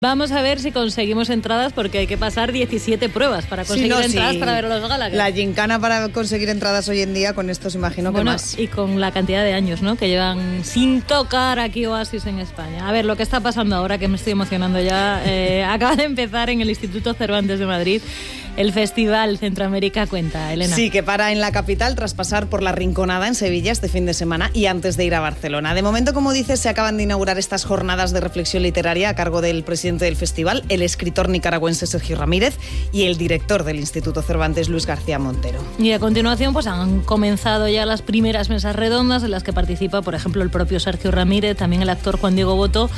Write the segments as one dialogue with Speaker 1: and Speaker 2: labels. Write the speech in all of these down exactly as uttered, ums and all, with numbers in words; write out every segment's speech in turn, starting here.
Speaker 1: Vamos a ver si conseguimos entradas, porque hay que pasar diecisiete pruebas para conseguir sí, no, entradas sí. para ver a los Gallagher.
Speaker 2: La gincana para conseguir entradas hoy en día, con estos imagino
Speaker 1: bueno,
Speaker 2: que más.
Speaker 1: Y con la cantidad de años, ¿no?, que llevan sin tocar aquí Oasis en España. A ver, lo que está pasando ahora, que me estoy emocionando ya, eh, acaba de empezar en el Instituto Cervantes de Madrid el Festival Centroamérica Cuenta, Elena.
Speaker 2: Sí, que para en la capital tras pasar por la Rinconada en Sevilla este fin de semana y antes de ir a Barcelona. De momento, como dices, se acaban de inaugurar estas jornadas de reflexión literaria a cargo del presidente del festival, el escritor nicaragüense Sergio Ramírez, y el director del Instituto Cervantes, Luis García Montero.
Speaker 1: Y a continuación pues han comenzado ya las primeras mesas redondas en las que participa, por ejemplo, el propio Sergio Ramírez, también el actor Juan Diego Botto.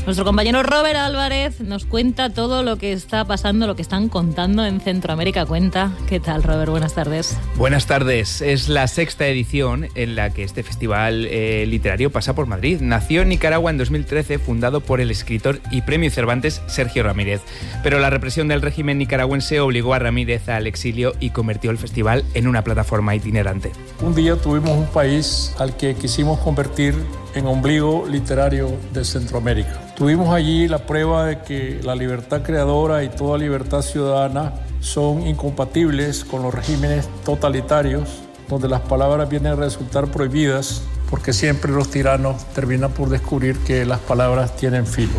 Speaker 1: Nuestro compañero Robert Álvarez nos cuenta todo lo que está pasando, lo que están contando en Centroamérica Cuenta. ¿Qué tal, Robert? Buenas tardes.
Speaker 3: Buenas tardes. Es la sexta edición en la que este festival eh, literario pasa por Madrid. Nació en Nicaragua en dos mil trece, fundado por el escritor y premio Cervantes Sergio Ramírez. Pero la represión del régimen nicaragüense obligó a Ramírez al exilio y convirtió el festival en una plataforma itinerante.
Speaker 4: Un día tuvimos un país al que quisimos convertir en ombligo literario de Centroamérica. Tuvimos allí la prueba de que la libertad creadora y toda libertad ciudadana son incompatibles con los regímenes totalitarios, donde las palabras vienen a resultar prohibidas, porque siempre los tiranos terminan por descubrir que las palabras tienen filo.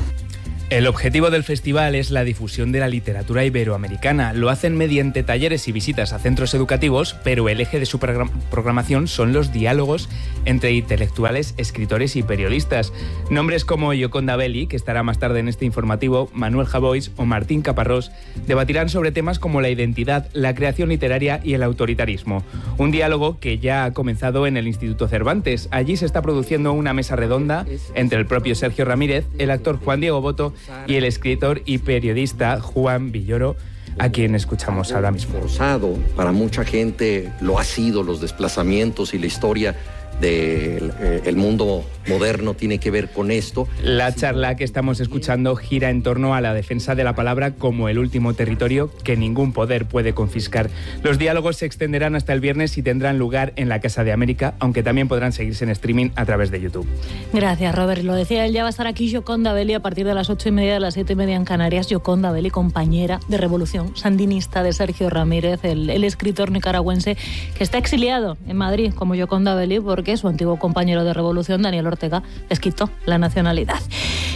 Speaker 3: El objetivo del festival es la difusión de la literatura iberoamericana. Lo hacen mediante talleres y visitas a centros educativos, pero el eje de su programación son los diálogos entre intelectuales, escritores y periodistas. Nombres como Yoconda Belli, que estará más tarde en este informativo, Manuel Javois o Martín Caparrós debatirán sobre temas como la identidad, la creación literaria y el autoritarismo. Un diálogo que ya ha comenzado en el Instituto Cervantes. Allí se está produciendo una mesa redonda entre el propio Sergio Ramírez, el actor Juan Diego Botto y el escritor y periodista Juan Villoro, a quien escuchamos ahora mismo.
Speaker 5: Forzado, para mucha gente lo ha sido, los desplazamientos y la historia del eh, el mundo moderno tiene que ver con esto.
Speaker 3: La charla que estamos escuchando gira en torno a la defensa de la palabra como el último territorio que ningún poder puede confiscar. Los diálogos se extenderán hasta el viernes y tendrán lugar en la Casa de América, aunque también podrán seguirse en streaming a través de YouTube.
Speaker 1: Gracias, Robert. Lo decía él, ya va a estar aquí Yoconda Belli a partir de las ocho y media, de las siete y media en Canarias. Yoconda Belli, compañera de Revolución sandinista de Sergio Ramírez, el, el escritor nicaragüense que está exiliado en Madrid como Yoconda Belli porque su antiguo compañero de Revolución, Daniel Ortega, les quitó la nacionalidad.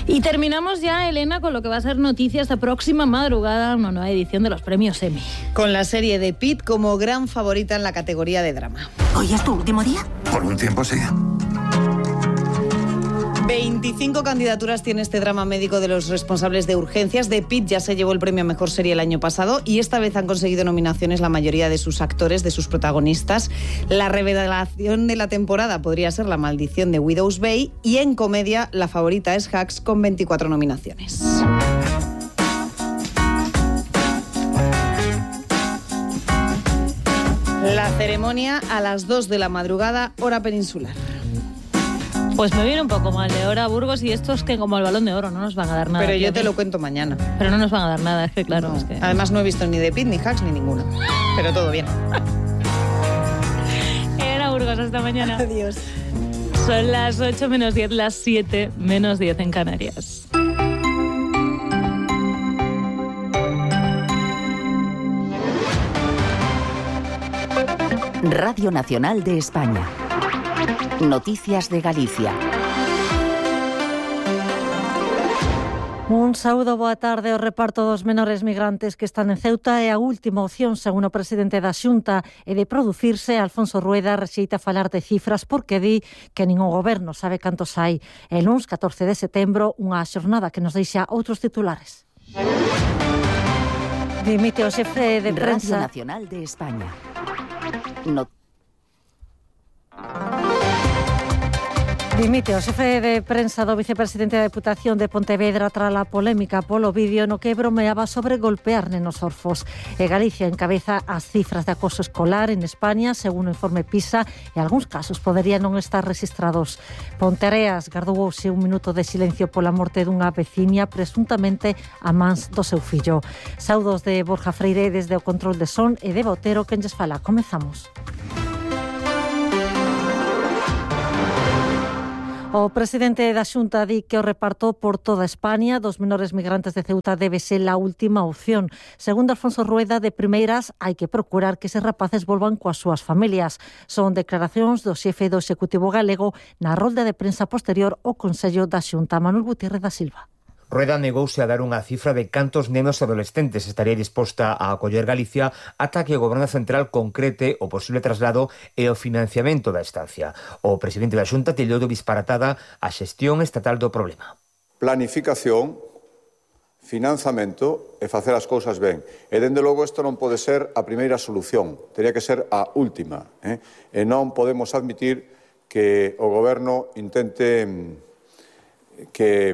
Speaker 1: Y terminamos ya, Elena, con lo que va a ser noticia esta próxima madrugada, una nueva edición de los premios Emmy.
Speaker 2: Con la serie de Pitt como gran favorita en la categoría de drama.
Speaker 6: ¿Hoy es tu último día?
Speaker 7: Por un tiempo sí.
Speaker 2: veinticinco candidaturas tiene este drama médico de los responsables de urgencias. The Pitt ya se llevó el premio a Mejor Serie el año pasado y esta vez han conseguido nominaciones la mayoría de sus actores, de sus protagonistas. La revelación de la temporada podría ser La Maldición de Widow's Bay y en comedia la favorita es Hacks con veinticuatro nominaciones. La ceremonia a las dos de la madrugada, hora peninsular.
Speaker 1: Pues me viene un poco mal de hora Burgos y estos que como el Balón de Oro no nos van a dar nada.
Speaker 2: Pero yo te lo cuento mañana.
Speaker 1: Pero no nos van a dar nada, es que claro.
Speaker 2: No.
Speaker 1: Es que...
Speaker 2: Además no he visto ni The Pitt, ni Hacks, ni ninguna. Pero todo bien.
Speaker 1: Era Burgos, hasta mañana.
Speaker 2: Adiós.
Speaker 1: Son las ocho menos diez, las siete menos diez en Canarias.
Speaker 8: Radio Nacional de España. Noticias de Galicia.
Speaker 9: Un saúdo, boa tarde. O reparto dos menores migrantes que están en Ceuta é a última opción, según o presidente da Xunta, e de producirse, Alfonso Rueda rexeita falar de cifras porque di que ningún goberno sabe cantos hai. El luns catorce de setembro, unha xornada que nos deixa outros titulares. Dimite o xefe de prensa...
Speaker 8: Radio Nacional de España. No...
Speaker 9: Dimite o xefe de prensa do vicepresidente da Deputación de Pontevedra tras a polémica polo vídeo no que bromeaba sobre golpear nenos orfos. E Galicia encabeza as cifras de acoso escolar en España, según o informe PISA, e algúns casos poderían non estar registrados. Ponteareas gardouse un minuto de silencio pola morte dunha veciña presuntamente a mans do seu fillo. Saudos de Borja Freire desde o control de son e de Botero quen lles fala. Comezamos. O presidente da Xunta di que o reparto por toda España dos menores migrantes de Ceuta debe ser a última opción. Segundo Alfonso Rueda, de primeiras hai que procurar que eses rapaces volvan coas súas familias. Son declaracións do xefe do Executivo galego na rolda de prensa posterior ao Consello da Xunta. Manuel Gutiérrez da Silva.
Speaker 6: Rueda negouse a dar unha cifra de cantos nenos e adolescentes estaría disposta a acoller Galicia ata que o Goberno Central concrete o posible traslado e o financiamento da estancia. O presidente da Xunta tildou de disparatada a xestión estatal do problema.
Speaker 7: Planificación, financiamento e facer as cousas ben. E, dende logo, isto non pode ser a primeira solución, teria que ser a última. Eh? E non podemos admitir que o Goberno intente que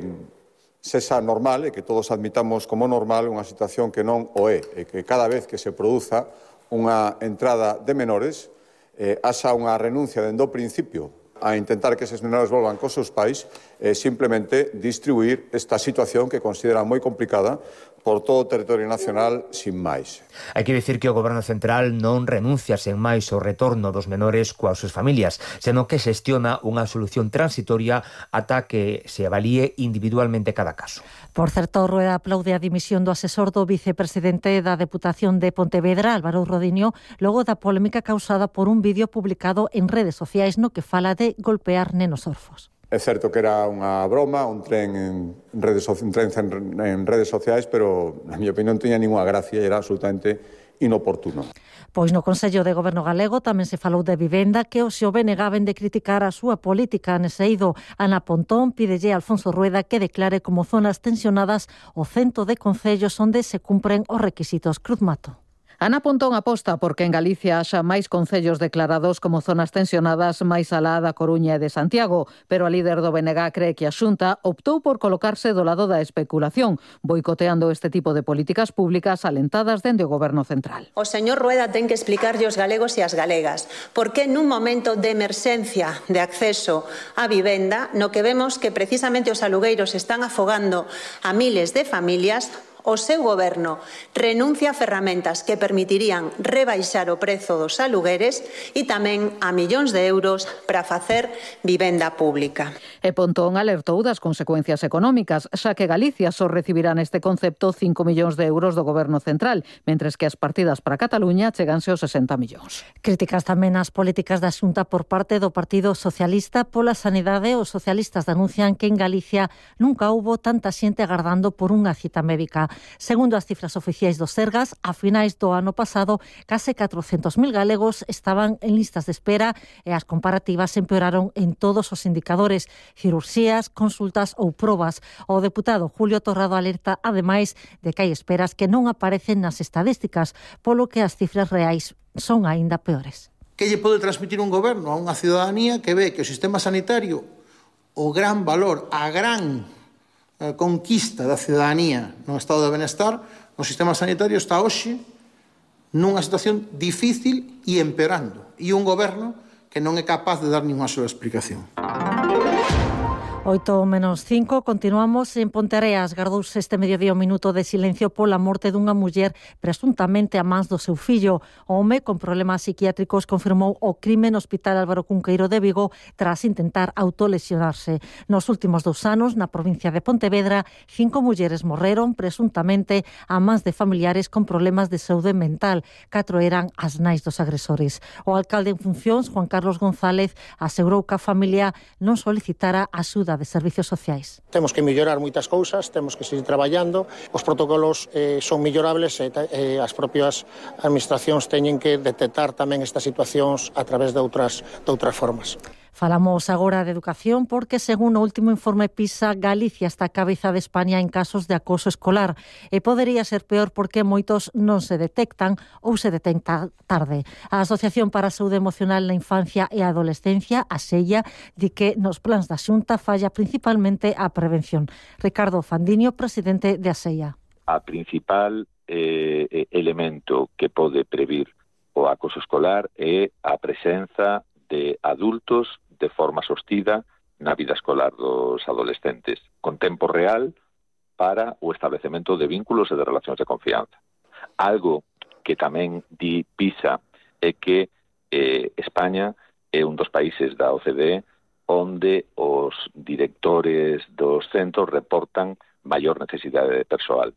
Speaker 7: sexa normal e que todos admitamos como normal unha situación que non o é, e que cada vez que se produza unha entrada de menores eh, haxa unha renuncia dende o principio a intentar que eses menores volvan cos seus pais e eh, simplemente distribuir esta situación que considera moi complicada por todo o territorio nacional sin máis.
Speaker 6: Hai que dicir que o Goberno Central non renuncia sen máis ao retorno dos menores coas súas familias, senón que xestiona unha solución transitoria ata que se avalíe individualmente cada caso.
Speaker 9: Por certo, Rueda aplaude a dimisión do asesor do vicepresidente da Deputación de Pontevedra, Álvaro Rodiño, logo da polémica causada por un vídeo publicado en redes sociais no que fala de golpear nenos orfos.
Speaker 7: É certo que era unha broma, un tren en redes, un tren en redes sociais, pero, na miña opinión, tiña ninguna gracia e era absolutamente inoportuno.
Speaker 9: Pois no Consello de Goberno galego tamén se falou de vivenda, que o Xove negaben de criticar a súa política nese eido. Ana Pontón pídelle a Alfonso Rueda que declare como zonas tensionadas o cento de concellos onde se cumpren os requisitos. Cruz Mato.
Speaker 10: Ana Pontón aposta porque en Galicia haxa máis concellos declarados como zonas tensionadas máis alá da Coruña e de Santiago, pero a líder do B N G cree que a Xunta optou por colocarse do lado da especulación, boicoteando este tipo de políticas públicas alentadas dende o Goberno Central.
Speaker 11: O señor Rueda ten que explicarlle aos galegos e ás galegas por que nun momento de emerxencia de acceso á vivenda, no que vemos que precisamente os alugueiros están afogando a miles de familias, o seu goberno renuncia a ferramentas que permitirían rebaixar o prezo dos alugueres e tamén a millóns de euros para facer vivenda pública.
Speaker 10: E Pontón alertou das consecuencias económicas, xa que Galicia só recibirá neste concepto cinco millóns de euros do Goberno Central, mentres que as partidas para Cataluña cheganse aos sesenta millóns.
Speaker 9: Críticas tamén ás políticas da Xunta por parte do Partido Socialista pola sanidade. Os socialistas denuncian que en Galicia nunca houbo tanta xente agardando por unha cita médica. Segundo as cifras oficiais do Sergas, a finais do ano pasado, case catrocentos mil galegos estaban en listas de espera e as comparativas empeoraron en todos os indicadores, cirurxías, consultas ou probas. O deputado Julio Torrado alerta, ademais, de que hai esperas que non aparecen nas estadísticas, polo que as cifras reais son aínda peores.
Speaker 12: Que lle pode transmitir un goberno a unha ciudadanía que ve que o sistema sanitario, o gran valor, a gran a conquista da ciudadanía no estado de benestar, o sistema sanitario está hoxe nunha situación difícil e empeorando, e un goberno que non é capaz de dar ninguna sola explicación.
Speaker 9: oito menos cinco, continuamos en Ponteareas. Gardouse este mediodía un minuto de silencio pola morte dunha muller presuntamente a mans do seu fillo. O home con problemas psiquiátricos confirmou o crime no Hospital Álvaro Cunqueiro de Vigo tras intentar autolesionarse. Nos últimos dous anos, na provincia de Pontevedra, cinco mulleres morreron presuntamente a mans de familiares con problemas de saúde mental. Catro eran as nais dos agresores. O alcalde en funcións, Juan Carlos González, asegurou que a familia non solicitara axuda de servicios sociais.
Speaker 13: Temos que mellorar moitas cousas, temos que seguir traballando, os protocolos eh, son mellorables e eh, as propias administracións teñen que detectar tamén estas situacións a través de outras, de outras formas.
Speaker 9: Falamos agora de educación porque, según o último informe PISA, Galicia está a cabeza de España en casos de acoso escolar e podería ser peor porque moitos non se detectan ou se detectan tarde. A Asociación para a Saúde Emocional na Infancia e a Adolescencia, a SEIA, di que nos plans da Xunta falla principalmente a prevención. Ricardo Fandiño, presidente de a SEIA.
Speaker 14: A principal eh, elemento que pode previr o acoso escolar é a presenza de adultos de forma sostida na vida escolar dos adolescentes, con tempo real para o establecemento de vínculos e de relacións de confianza. Algo que tamén di PISA é que eh, España é un dos países da O C D onde os directores dos centros reportan maior necesidade de persoal.